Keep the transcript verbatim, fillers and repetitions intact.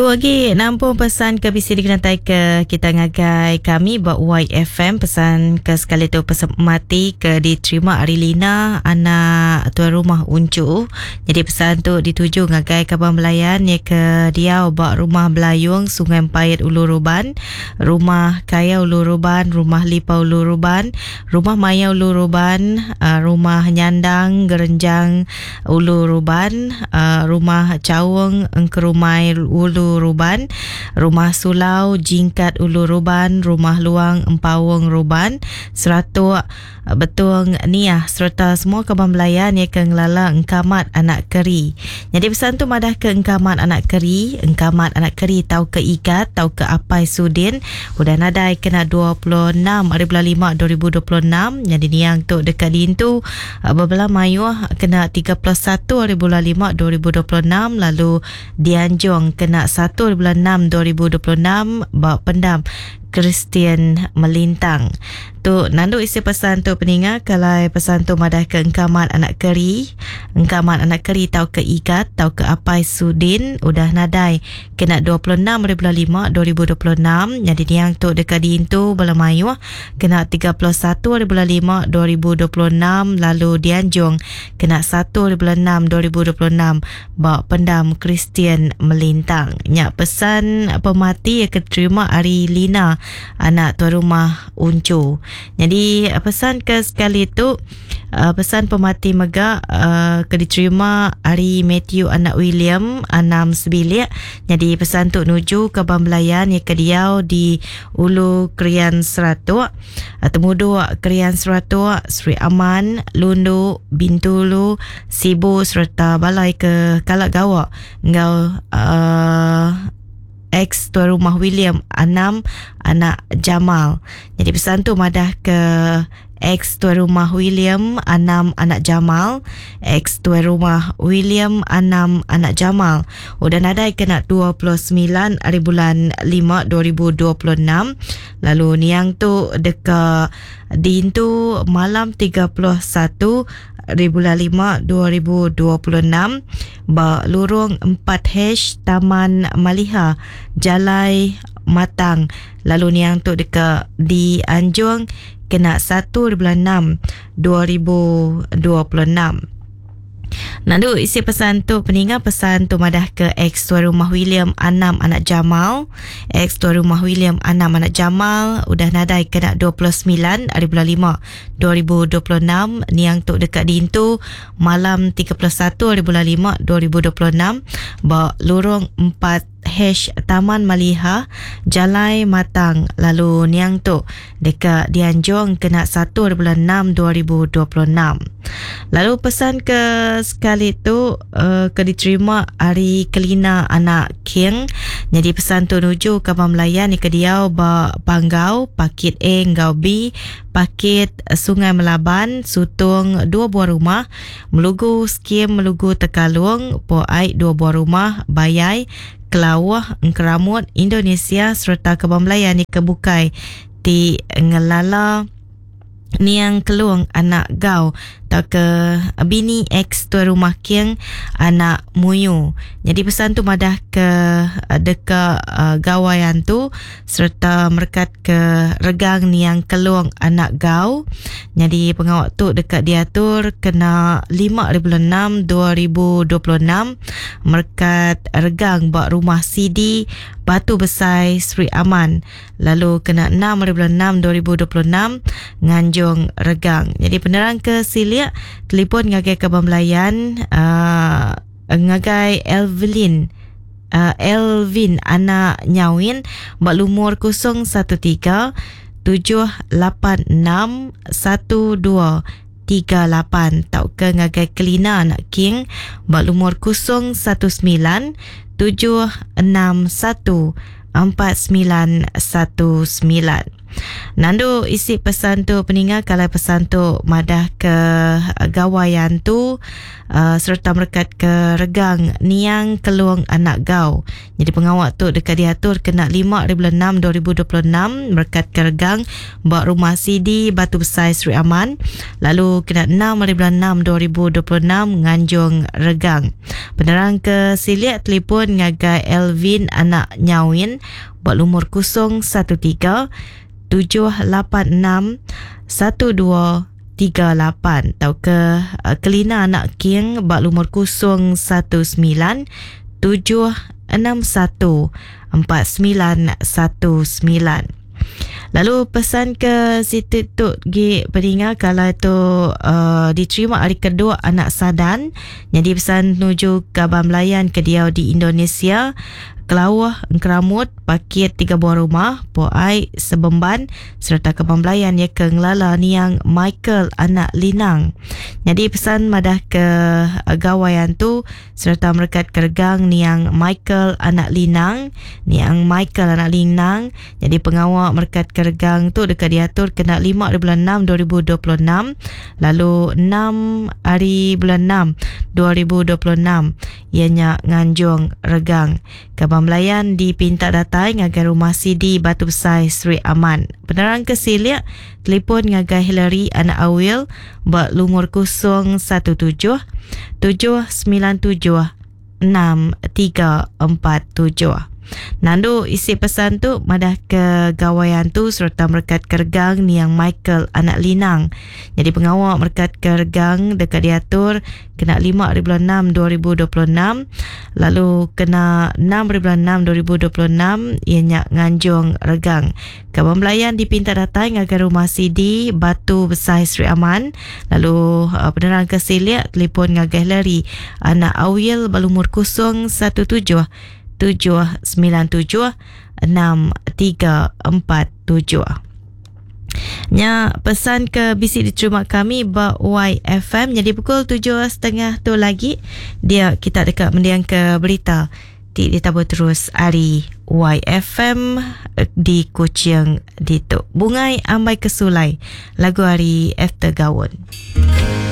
Aku lagi nampung pesan ke bisi dikenatai ke kita ngagai kami ba Y F M. Pesan ke sekali tu pesan mati ke diterima ari Lina anak tuan rumah Uncu. Jadi pesan tu dituju ngagai kaban belayan ya ke diau ba rumah Belayung Sungai Pait Ulu Ruban, rumah Kaya Ulu Ruban, rumah Lipa Ulu Ruban, rumah Maya Ulu Ruban, rumah Nyandang Gerenjang Ulu Ruban, rumah Chaung Engkerumai Ulu Ruban, rumah Sulau Jingkat Ulu Ruban, rumah Luang Empawung Ruban, Seratuk Betung Niah serta semua kaban belayan ya ke ngelala Engkamat anak Keri. Jadi pesan tu madah ke Engkamat anak Keri, Engkamat anak Keri tau ke Igat tau ke Apai Sudin udah nadai kena dua puluh enam hari bulan lima dua ribu dua puluh enam. Jadi niang tu dekat dintu bebelah mayuh kena tiga puluh satu hari bulan lima dua ribu dua puluh enam lalu dianjung kena satu hari bulan enam dua ribu dua puluh enam ba pendam Kristian Melintang. Tu nandu isi pesan tu peninga kalau pesan tu madah ke Engkamat anak Keri, Engkamat anak Keri tau ke Igat tau ke Apai Sudin udah nadai kena dua puluh enam hari bulan lima dua ribu dua puluh enam. Jadi niang tu dekat diintu bala mayuh kena tiga puluh satu hari bulan lima dua ribu dua puluh enam lalu dianjung kena satu hari bulan enam dua ribu dua puluh enam ba pendam Kristian Melintang. Nyak pesan pemati yang keterima ari Lina anak tuan rumah Uncu. Jadi pesan ke sekali tu pesan pemati mega uh, ke diterima ari Matthew anak William anam sebilik. Jadi pesan tu nuju ke Bambelayan yang ke diau di Ulu Krian Seratuk, Temuduk Krian Seratuk, Sri Aman, Lundu, Bintulu, Sibu serta balai ke Kalak Gawak ngau uh, ex tuan rumah William Anam anak Jamal. Jadi pesan tu madah ke ex tuan rumah William Anam anak Jamal, ex tuan rumah William Anam anak Jamal udah nadai kena dua puluh sembilan hari bulan lima dua ribu dua puluh enam. Lalu niang tu deka diintu malam tiga puluh satu hari bulan lima dua ribu dua puluh enam ba lurung empat H Taman Maliha Jalai Matang. Lalu niang tu deka dianjung kena satu hari bulan enam dua ribu dua puluh enam. Nandu isi pesan tu peninga pesan tu madah ke ex tuan rumah William Anam anak Jamal, ex tuan rumah William Anam anak Jamal udah nadai kena dua puluh sembilan hari bulan lima dua ribu dua puluh enam. Niang tu dekat diintu malam tiga puluh satu hari bulan lima dua ribu dua puluh enam ba lurung empat H Taman Maliha Jalai Matang. Lalu niang tu dekat dianjung kena satu hari bulan enam dua ribu dua puluh enam. Lalu pesan ke sekali tu uh, ke diterima ari Kelina anak King. Jadi pesan tu nuju ke Bamelayan ni ke diau ba Panggau Pakit A ngau B, Pakit Sungai Melaban, Sutung dua buah rumah, Melugu Skim Melugu Tekalung, Po Ai dua buah rumah, Bayai Kelawah, Engkeramut, Indonesia serta Kebun Melayan ni kebukai ti ngelala niang Kelung anak Gau atau ke bini ex tuan rumah King anak Muyu. Jadi pesan tu madah ke deka uh, gawayan tu serta merekat ke regang niang Kelung anak Gau. Jadi pengawak tu dekat diatur kena lima hari bulan enam dua ribu dua puluh enam merekat regang bak rumah C D Batu Besai Sri Aman. Lalu kena enam hari bulan enam dua ribu dua puluh enam nganjung regang. Jadi penerang ke Silik telefon ngagai ke Bambelayan uh, ngagai Elvin uh, Elvin anak Nyawin bak lumur kosong satu tiga tujuh lapan enam satu dua tiga lapan tau ke ngagai Kelina anak King bak lumur kosong satu sembilan tujuh enam satu empat sembilan satu sembilan. Nandu isi pesan tu peninga kalau pesan tu madah ke gawayan tu uh, serta merekat ke regang Niang Kelung Anak Gau. Jadi pengawak tu dekat diatur kena lima bulan enam dua ribu dua puluh enam merekat ke regang ba rumah C D Batu Besai Sri Aman, lalu kena enam bulan enam dua ribu dua puluh enam nganjung regang. Penerang ke siliak telefon ngagai Elvin anak Nyawin buat lumur kosong satu tiga tujuh lapan enam satu dua tiga lapan atau ke uh, Kelina anak King bak lumur kosong satu sembilan tujuh enam satu empat sembilan satu sembilan. Lalu pesan ke situ tu gi peninga kalau tu uh, diterima hari kedua anak Sadan. Jadi pesan menuju Kabang Melayan ke dia di Indonesia. Kelawah Engkeramut paket tiga buah rumah Poai Sebemban serta Kabang Melayan ya ke Ngelala Niang Michael anak Linang. Jadi pesan madah ke gawayan tu serta merekat kergang Niang Michael anak Linang, Niang Michael anak Linang. Jadi pengawak merekat kergang tu dekat diatur kena lima bulan enam dua ribu dua puluh enam lalu enam hari bulan enam dua ribu dua puluh enam ianya nganjung regang. Kabang Melayan dipinta datai ngagai rumah C D Batu Besai Sri Aman. Penerang ke siliak telefon ngagai Hillary anak Awil buat lumur kosong satu tujuh tujuh sembilan tujuh enam tiga empat tujuh. Nandu isi pesan tu madah ke gawayan tu serta merekat kergang Niang Michael anak Linang. Jadi pengawak merekat kergang dekat diatur kena lima bulan enam dua ribu dua puluh enam lalu kena enam bulan enam dua ribu dua puluh enam ianya nganjung regang. Kabang Melayan dipinta datang ngagai rumah C D Batu Besai Sri Aman lalu uh, penerang ke siliak telefon ngagai Larry anak Awil balumur kosong satu tujuh tujuh sembilan tujuh enam tiga empat tujuh. Nya pesan ke B C diterima kami ba Y F M. Jadi pukul tujuh setengah tu lagi dia kita dekat mendiang ke berita ti ditabur terus hari Y F M di Kuching ditu. Bungai Ambai Kesulai lagu hari After Gawon.